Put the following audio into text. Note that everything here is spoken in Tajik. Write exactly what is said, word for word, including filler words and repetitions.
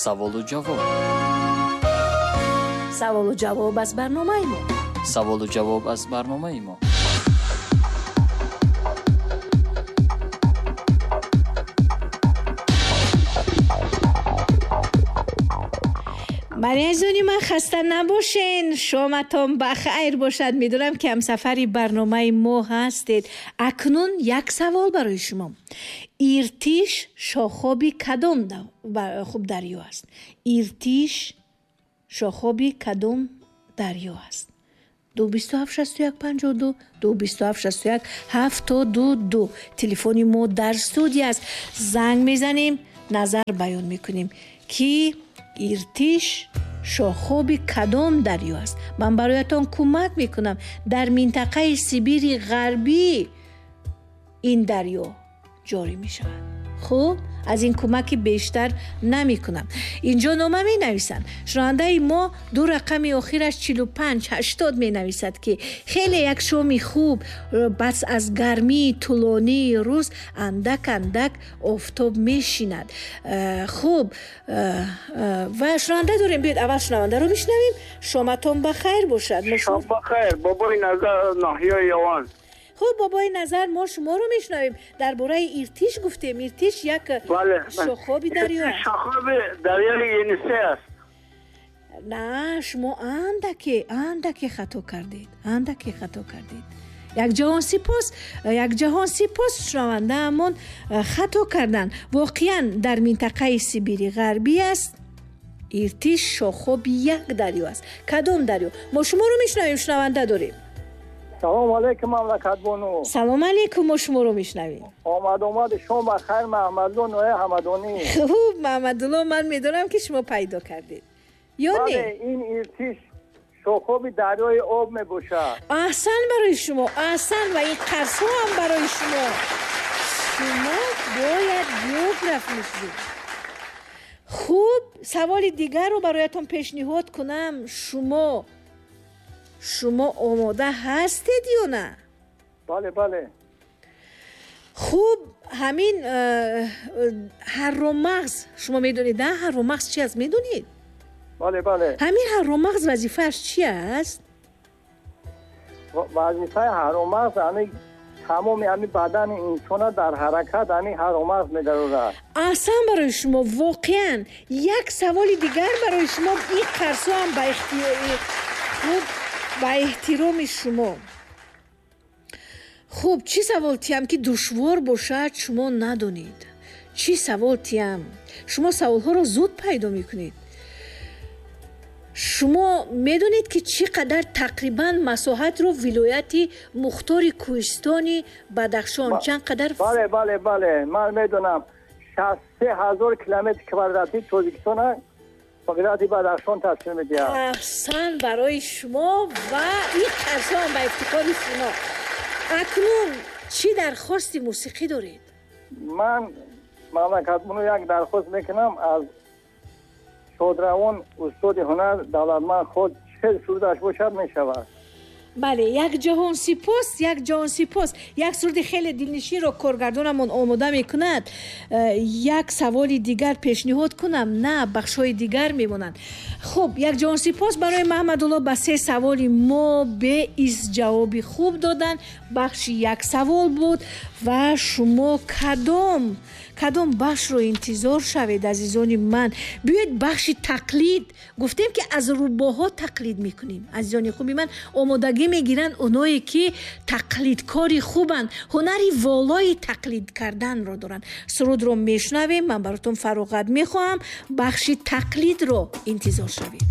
Саволу ҷавоб. Саволу ҷавоб аз барномаи мо. Саволу ҷавоб аз барномаи мо. Бале, азизони ман, хаста набошен, шоматон ба хайр бошад. Медонам ки ҳамсафари барномаи мо ҳастед. Акнун як савол барои шумо. Иртиш шохоби кадом хуб дарё аст? Иртиш шохоби кадом дарё аст? Ду бисту ҳафт шасту як панҷоҳу ду, ду бисту ҳафт шасту як ҳафтоду ду. Телефони мо дар студия аст. Занг мезанем, назар баён мекунем, ки Иртиш шохоби кадом дарё аст. Ман бароятон кӯмак мекунам. Дар минтақаи Сибири Ғарбӣ ин дарё ҷорӣ мешавад. Хуб, аз ин кӯмаки бештар намекунам. Инҷо нома менависанд. Шунавандаи мо ду рақами охираш чилу панҷ ҳаштод менависад, ки хеле як шоми хуб, бас аз гармии тӯлонии рӯз андак андак офтоб мешинад. Хуб, ва шунаванда дорем. Биёед аввал шунавандаро бишнавем. Шоматон ба хайр бошад. Шом ба хайр, бобои Назар, ноҳияи Яван. Хуб, бобои Назар, мо шуморо мешунавем. Дар бораи Иртиш гуфтем. Иртиш як шохоби дарё аст. Шохоби дарёи Енисей аст. На, шумо андаке андаке хато кардед, андаке хато кардед. Як ҷаҳон сипос, як ҷаҳон сипос, шунавандаамон хато карданд. Воқеан дар минтақаи Сибири Ғарбӣ аст. Иртиш шохоби як дарё аст. Кадом дарё? Мо шуморо мешунавем, шунаванда дорем. Салом алейкум, мамлакатбону. Салом алейкум, мо шуморо мешунавем. Омад омад, шом ба хайр, Маҳмадулло ноҳияи Ҳамадонӣ. Хуб, Маҳмадулло, ман медонам ки шумо пайдо кардед. Ё не? Бале, ин Иртиш шохоби дарёи об мебошад. Аҳсан барои шумо, аҳсан, ва ин қарсҳо ҳам барои шумо. Шумо бояд географ мешудед. Хуб, саволи дигарро бароятон пешниҳод кунам. Шумо шумо омода ҳастед ё на? Бале, бале. Хуб, ҳамин ҳарромағз, шумо медонед, на? Ҳарромағз чи аст, медонед? Бале, бале. Ҳамин ҳарромағз вазифааш чи аст? Вазифаи ҳарромағз ҳамин тамоми ҳамин бадани инсона дар ҳаракат ҳамин ҳарромағз медарорад. Аҳсан барои шумо, воқеан. Як саволи дигар барои шумо. Ин қарсҳо ҳам ба ихтиёри хуб, ба эҳтироми шумо. Хуб, чӣ савол тиям ки душвор бошад, шумо надонед? Чӣ савол тиям? Шумо саволҳоро зуд пайдо мекунед. Шумо медонед ки чӣ қадар тақрибан масоҳатро вилояти мухтори кӯҳистони Бадахшон чанд қадар? Бале, бале, бале, ман медонам. шасту се ҳазор километри квадратии Тоҷикистона вилояти Бадахшон ташкил медиҳад. Аҳсан барои шумо ва ин қарсҳо ба ифтихори шумо. Акнун чӣ дархости мусиқӣ доред? Ман мамлакатбону як дархост мекунам аз шодравон устоди ҳунар Давлатманд худ, чӣ сурудаш бошад мешавад. Бале, як ҷаҳон сипос, як ҷаҳон сипос. Як суруди хеле дилнишинро коргардонамон омода мекунад. Як саволи дигар пешниҳод кунам? На, бахшҳои дигар мемонанд. Хуб, як ҷаҳон сипос барои Маҳмадулло, ба се саволи мо беиз ҷавоби хуб доданд. Бахши як савол буд ва шумо кадом кадом бахшро интизор шавед, азизони ман? Биёед бахши тақлид. Гуфтем ки аз рӯбоҳо тақлид мекунем. Азизони хуби ман, омодагӣ мегиранд оное ки тақлидкори хубанд, ҳунари волои тақлид карданро доранд. Сурудро мешунавем, ман баротон фароғат мехоҳам. Бахши тақлидро интизор шавед.